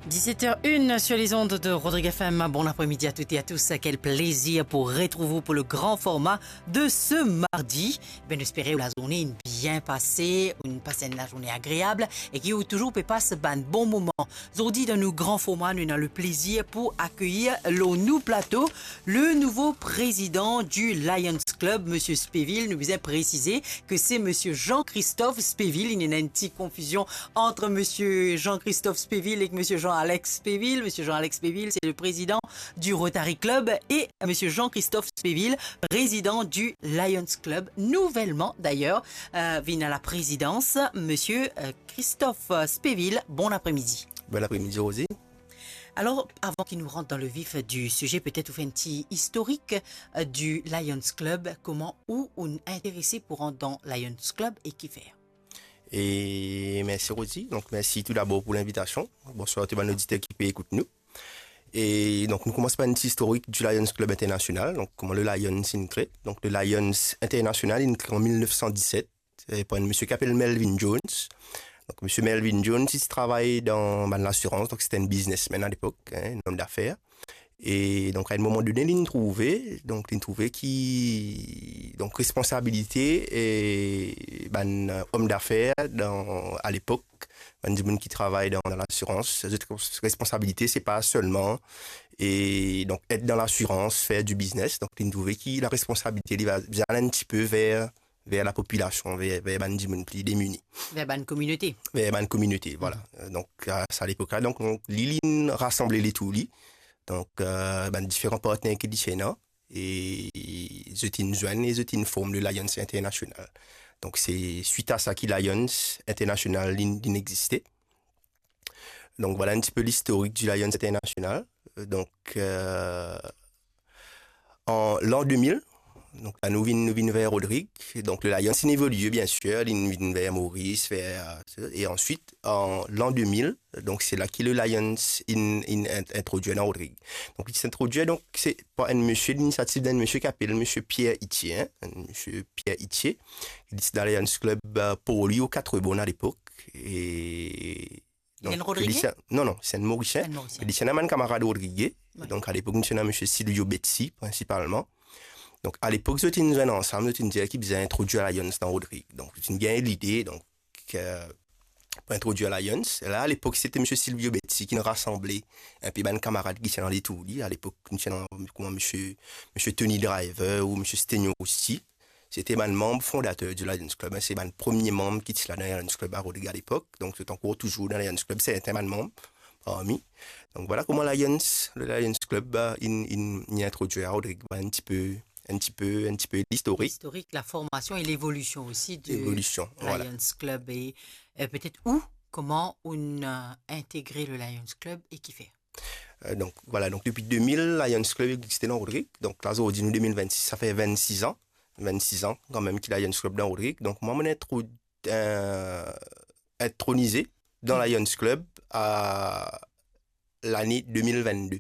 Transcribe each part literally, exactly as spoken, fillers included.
Dix-sept heures une sur les ondes de Rodrigue F M. Bon après-midi à toutes et à tous. Quel plaisir pour retrouver vous pour le grand format de ce mardi. Ben, nou espere ou lazourne inn bien pase, ou inn pas enn lazourne agreab e ki ou touzour pe pas bann bon moman. Zordi, dan nou gran forma, nou ena le plezir pou akeyir lor nou plato le nouvo prezidan di Lions Club, Misie Speville. Nou bizin presize ke se Misie Jean-Christophe Speville. Inn ena enn ti konfizion ant Misie Jean-Christophe Speville ek Misie Jean-Alex Speville. Misie Jean-Alex Speville, se le prezidan di Rotary Club, e Misie Jean-Christophe Speville, prezidan di Lions Club, nouvelman dayer, euh, vinn a la prezidans. Misie, euh, Christophe Speville, bon apremidi. Bon apremidi, Rosie. Alor, avan ki nou rant dan le vif di size, petet ou fer enn ti istorik, euh, di Lions Club, kouma ou, ou inn interese pou rant dan Lions Club e kifer? E mersi, Rosie. Donk, mersi tou dabor pou linvitasion. Bonswar tou bann oditer ki pe ekout nou. E donk, nou koumans par enn ti istorik di Lions Club International. Donk, kouma le Lions inn kre. Donk, le Lions International inn kre an mil nef san diset, eh, par enn misie ki apel Melvin Jones. Donk, misie Melvin Jones, li ti travay dan bann lasirans, donk se ti enn biznesmenn alepok, hein, enn om dafer. E donk, a enn moman done, li inn trouve, donk, li inn trouve ki, donk, responsabilite, eh, bann, eh, om dafer dan, alepok, bann dimoun ki travay dan, dan lasirans, zot responsabilite, se pa selman, e donk, et dan lasirans, fer di biznes. Donk, li inn trouve ki laresponsabilite, li va, li al enn tipe ver ver lapopilasion, ver, ver bann dimoun pli demini. Ver bann kominote. Ver bann kominote, vwala. Euh, donk, a sa lepok la, donk, donk, li, li inn rasanble letour li. Donk, euh, bann diferan partner ki li ti ena, e zot inn zwenn e zot inn form le Lions International. Donk, se swit a sa ki Lions International inn, inn existe. Donk, vwala enn tipe listorik di Lions International. Euh, donk, euh, an lan de mil, donk la nou vinn, nou vinn ver Rodrig. Donk, le Lions inn evolie, bien sir, li vinn ver Moris, ver, euh, e answit, an lan de mil, donk, se la ki le Lions inn, inn int-, introdwir dan Rodrig. Donk, li ti introdwir, donk, se par enn misie, linisiativ d'enn misie ki apel misie Pierre Itier, hein, enn misie Pierre Itier, ki ti dan Lions Club, euh, Port-Louis ou Quatre-Bornes alepok. E Li enn Rodrigien? Li ti, non, non, se enn Morisien. Enn Morisien. Li ti ena bann kamarad Rodrig. Wi. Donk, alepok, nou ti ena misie Silvio Betsy, prinsipalman. Donk, alepok, zot inn zwenn ansam, zot inn dir ki bizin introdwir Lions dan Rodrig. Donk, zot inn gagn lide, donk, euh, pou introdwir Lions. La, alepok, se ti misie Silvio Betsy ki inn rasanble enpe bann kamarad ki ti ena letour li. Alepok, nou ti ena kouma misie, misie Tony Driver ou misie Stenio Rossi. Se ti bann manm fondater di Lions Club, hein, se bann premie manm ki ti la dan Lions Club a Rodrig alepok. Donk, zot ankor touzour dan Lions Club, sertin bann manm parmi. Donk, vwala kouma Lions, le Lions Club, euh, inn, inn, inn introdwir a Rodrig. Vwala enn tipe, enn tipe, enn tipe listorik. Listorik, la formasion e levolision osi de Levolision, vwala. Lions Club e, euh, petet ou, kouma ou inn, euh, integre le Lions Club e kifer? Euh, donk, vwala, donk, depi de mil, Lions Club existe dan Rodrig. Donk, la, zordi, nou de mil vennsis, sa fer vennsis an. Vennsis an, kanmem, ki Lions Club dan Rodrig. Donk, mwa, mo inn intro-, euh, intronize dan Lions Club a lane de mil vennde.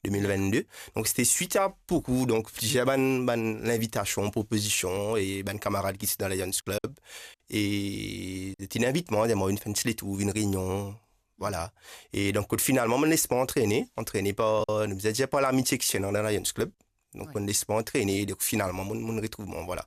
De mil vennde. Donk, se ti swit a boukou, donk, plizier bann, bann linvitasion, propozision, e bann kamarad ki ti dan Lions Club. E ti inn invit mwa, dir mwa, vinn fer enn ti letour, vinn reynion, vwala. E donk, kot finalman, mo les mwa antrene, antrene par, nou bizin dir, par lamitie ki ti ena dan Lions Club. Donk, wi, mo les mwa antrene, donk, finalman, mo, mo retrouv mwa, vwala.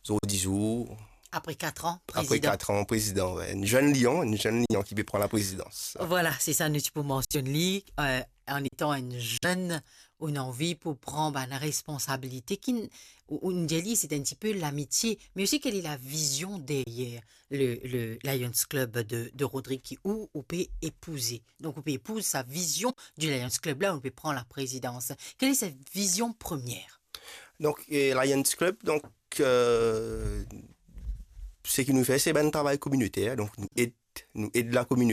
Zordi zour. Apre kat an, apre prezidan. Kat an, prezidan, wi. Enn zenn lion, enn zenn lion ki pe pran laprezidans. Vwala, se sa nou ti pou mansionn li, euh, an etan enn zenn, ou ena anvi pou pran bann responsabilite ki n-, ou, ou dir li, se enn tipe lamitie, me osi, kele lavizion deryer le, le Lions Club de, de Rodrig ki ou, ou pe epouze. Donk, ou pe epouze sa vizion di Lions Club la, ou pe pran laprezidans. Kele sa vizion premie? Donk, eh, Lions Club, donk, eh, seki nou fer, se bann travay kominoter. Donk, nou ed, nou ed lakominote.